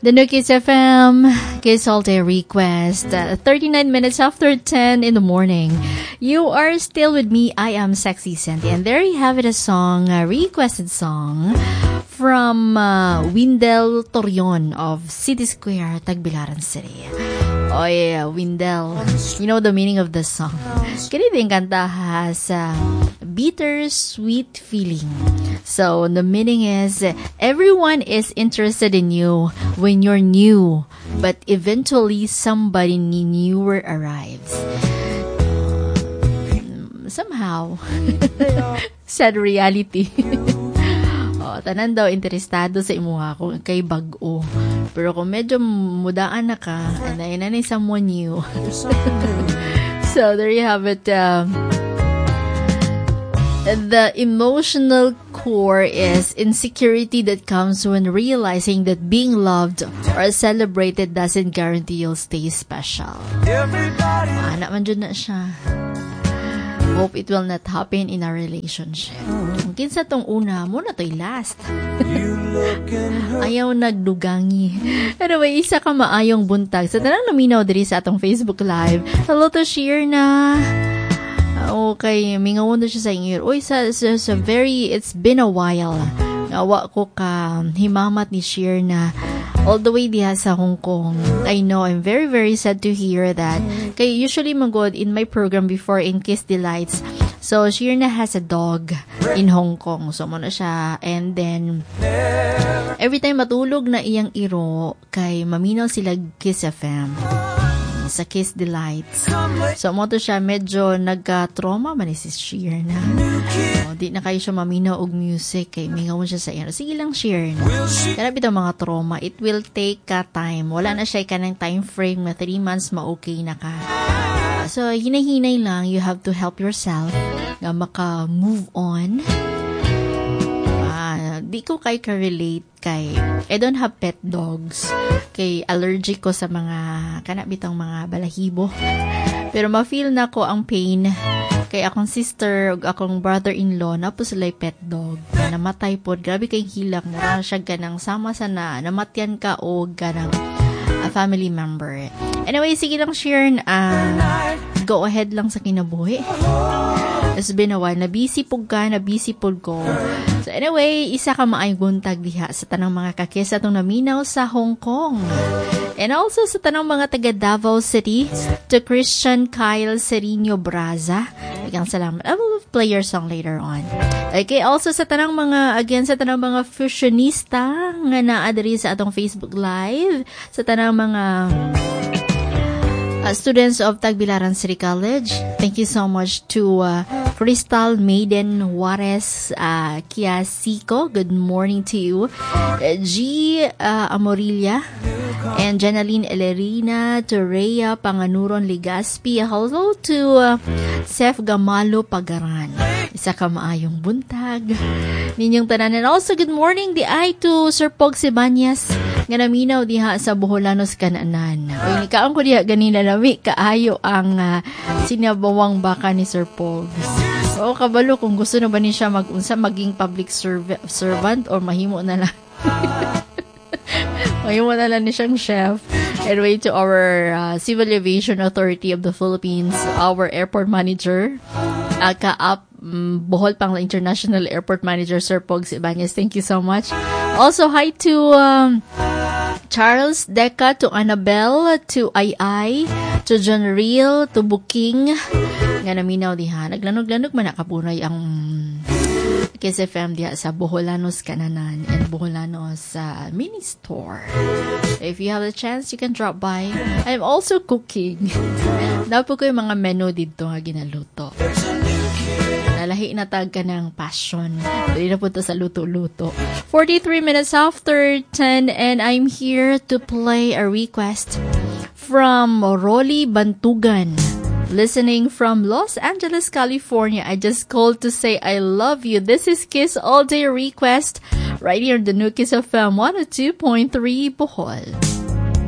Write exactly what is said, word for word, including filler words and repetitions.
The New Kiss F M, Kiss All Day Request, uh, thirty-nine minutes after ten in the morning. You are still with me. I am Sexy Sandy. And there you have it, a song, a requested song from uh, Windel Torion of City Square, Tagbilaran City. Oh yeah, Windel. You know the meaning of this song. Kini din kanta has a bitter sweet feeling. So the meaning is everyone is interested in you when you're new, but eventually somebody newer arrives. Somehow, sad reality. Oh, tanan daw interesado sa imuha kung kay bag-o. Pero kung medyo mudaan na ka, and then na someone new. So there you have it. Um, the emotional core is insecurity that comes when realizing that being loved or celebrated doesn't guarantee you'll stay special. Ana man jud na siya. Hope it will not happen in our relationship. Kung kinsa tong una, mao na to'y last. Ayaw nagdugangi. Anyway, isa ka maayong buntag sa tanang naminaw diri sa atong Facebook Live. Hello to Shirna. Okay, mingaw na siya sa inyo. Uy, sa, sa, sa very, it's been a while. Nawa ko ka himamat ni Shirna all the way diha sa Hong Kong. I know, I'm very, very sad to hear that. Kay usually magod in my program before in Kiss Delights. So, Shirna has a dog in Hong Kong. So, mao na siya. And then, every time matulog na iyang iro, kay maminaw sila Kiss F M sa Kiss Delights. So, mao to siya, medyo nagka-trauma man ni si Shirna. Oh, di na kayo siya maminaw og music kay mingaw siya sa iyo. Sige lang, Shirna. Kana bitaw mga trauma, it will take ka time. Wala na siya kanang time frame na three months ma-okay na ka. So, hinay-hinay lang, you have to help yourself nga maka-move on. Ah, di ko kay ka-relate kay I don't have pet dogs. Kay allergic ko sa mga kana bitang mga balahibo. Pero ma-feel na ko ang pain kay akong sister ug akong brother-in-law naa po sila pet dog. Na namatay pod, grabe kay hilak, mura siya kanang sama sa na namatyan ka og kanang a family member. Anyway, sige lang, Sharon, uh, go ahead lang sa kinabuhi. It's been a while. Na-busy pud ka, na-busy pud ko. So anyway, isa ka maayong buntag diha sa tanang mga ka-Kiss atong naminaw sa Hong Kong. And also sa tanang mga taga Davao City, to Christian Kyle Serino Braza. Daghang salamat. I will play your song later on. Okay, also sa tanang mga, again, sa tanang mga fusionista nga naa diri sa atong Facebook Live, sa tanang mga uh, students of Tagbilaran City College. Thank you so much to uh, Crystal Maiden Juarez uh, Kiasiko. Good morning to you. Uh, G. Uh, Amorilla and Jenaline Elerina, to Rhea Panganuron Ligaspi. Hello to uh, Seth Gamalo Pagaran. Isa ka maayong buntag ninyong tanan. And also, good morning diay to Sir Pog Sibanyas nga naminaw diha sa Boholanos Kananan. Uy, nikaon ko diha ganina, lami kaayo ang uh, sinabawang baka ni Sir Pogs. Oo, kabalo kung gusto na ba ni siya mag-unsa, maging public serv- servant or mahimo na lang. Mahimo na lang ni siyang chef. Anyway, to our uh, Civil Aviation Authority of the Philippines, our airport manager, uh, Kaap um, Bohol Pang International Airport Manager, Sir Pogs Ibanez. Thank you so much. Also, hi to um, Charles Deca, to Annabelle, to Ai Ai, to John Real, to Booking. Nga naminaw diha. Naglanog-lanog man nakapunay ang Kiss F M diha sa Boholanos Kananan and Boholanos uh, mini store. If you have a chance, you can drop by. I'm also cooking. Naa po ko yung mga menu dito nga ginaluto. Nalahi na tag ka ng passion. Dili na punta sa luto-luto. forty-three minutes after ten and I'm here to play a request from Rolly Bantugan. Listening from Los Angeles, California. I just called to say I love you. This is Kiss All Day Request right here on the New Kiss F M one oh two point three Bohol.